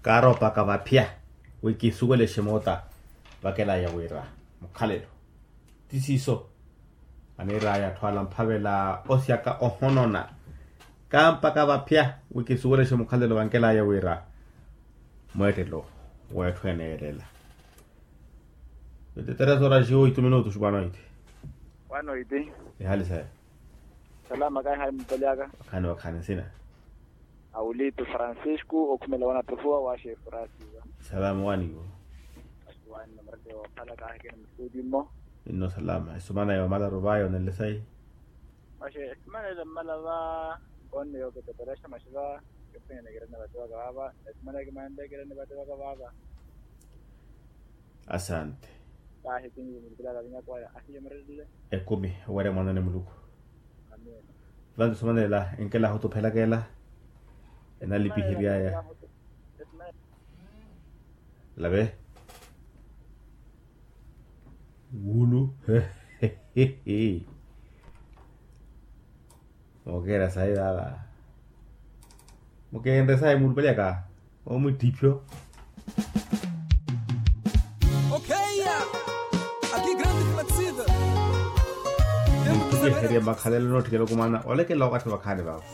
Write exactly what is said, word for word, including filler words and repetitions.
Kaaroopaka vaphya wi kisuwelexe moota vakelaya wira mukhalelo. Ti siiso aniir'aya atthu ala mphavela osyaka ohonona. Kaampaka vaphya wi kisuwelexe mukhalelo vankelaya wira mweettelo w'etthu eneelela. Vintitereso raxiwo oitu minutu xupwanoiti. Wanoiti. Ihali saya. Salama kaihali mupali aka. Wakhaani wakhaani nsina. Awulitu francisco okhumela wanattufuwa waaxe efurasiwa. Salama waniwo. Wani namarate waphala kaahikene mututimo. Inno salama esumana yoomala ruvayo nelesai. Maxe esimana ela mmala va nkonne yooketeperexa maxe va. Kepwene kirene vate vaka vaava esimana kimanle kirene vate vaka vaava. Asante. Tahi tingi mulukilaka vinyakwaya ahiye murelile. Ekumi owerya mwanene muluku. Amina. Vantu somanela enkela ahutuphelaka ela enalipihiryaya. Lave wulu. Mookeera sayi vaava. Mukeenre sayi muulupeleyaka omwittiphyo. Muttiphyo eheriya makhalelo nootthikela okumana olekela okathi vakhaani vaava.